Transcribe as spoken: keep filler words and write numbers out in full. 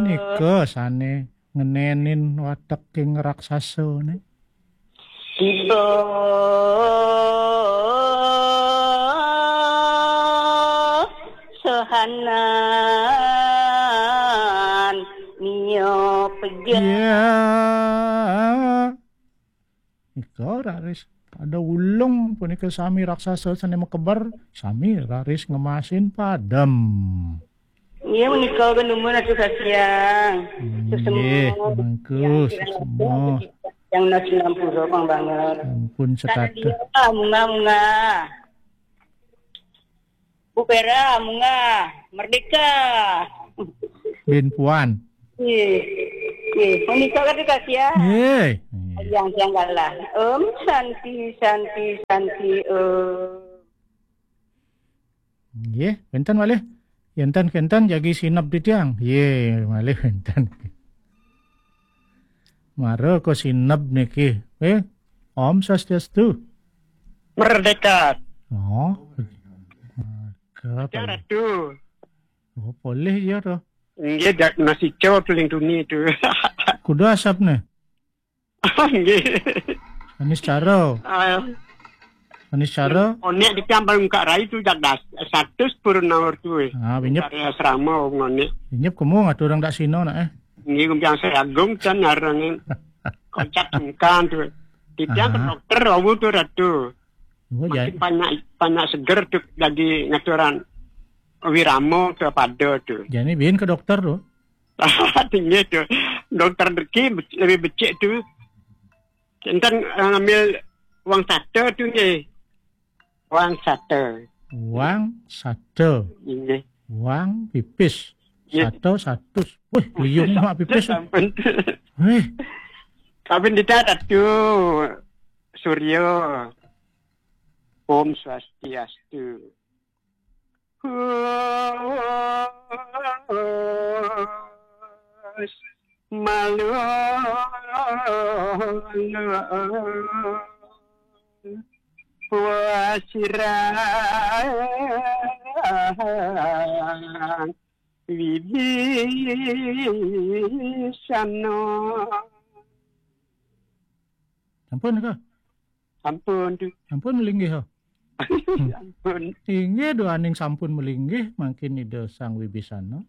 Nika sane ngenenin wateking raksasane. Tiba sohanan mio peja. Ya. Nika raris pada ulung punika sami raksasa sane makeber, sami raris ngemasin padem. Iya, menika genumun atuh kasiang. Nggih, mengku, sesemua. Yang nasi ngampura pang banget. Ampun, karena sekata. Dia munga-munga. Bu Pera, munga, merdeka. Bin Puan. Nggih. Nggih, menika atuh kasiang. Nggih. Yang yang galah. Om Santi, Santi, Santi, Om. Nggih, wenten malih. Enten kenten jagi sineb titiang. Nggih, malih wenten. Mara ka sineb niki. Eh, Om Swastiastu. Merdeka. Oh. Merdeka, Ratu. Oh, polih ya to. Nggih, dak nasi cowok paling tuni tu. Kuda asapne. Nggih. Anis cara. Ah. Anis cara. Onek di kampung Kak Rai tu jak das. Satu purun naur tu. Ah, binyep. Dari asrama ngonek. Binyep kemu ngatur orang dak sino nak eh. Nggih, kumpiang saya agung kan ngarang kocak engkan tu. Tiang ke dokter awu tu Ratu. Oh, ya. Makin banyak banyak seger tu lagi ngaturan wirama ke pada tu. Jadi bin ke dokter tu. Tinggi tu. Dokter deki lebih becik tu. Enten eh, ngambil wang sate tu nggih. Wang sate. Wang sate. Nggih. Wang pipis. Nggih. Sate satus. Wih, liung mak pipis. Sampun. Wih. Kapin dita Ratu Suryo. Om Swastiastu. Hus malu wasirang wibisano. Sampun ka? Sampun tu. Sampun melinggih ha. Sampun. Inggih duaning sampun melinggih mangkin Ida Sang Wibisana.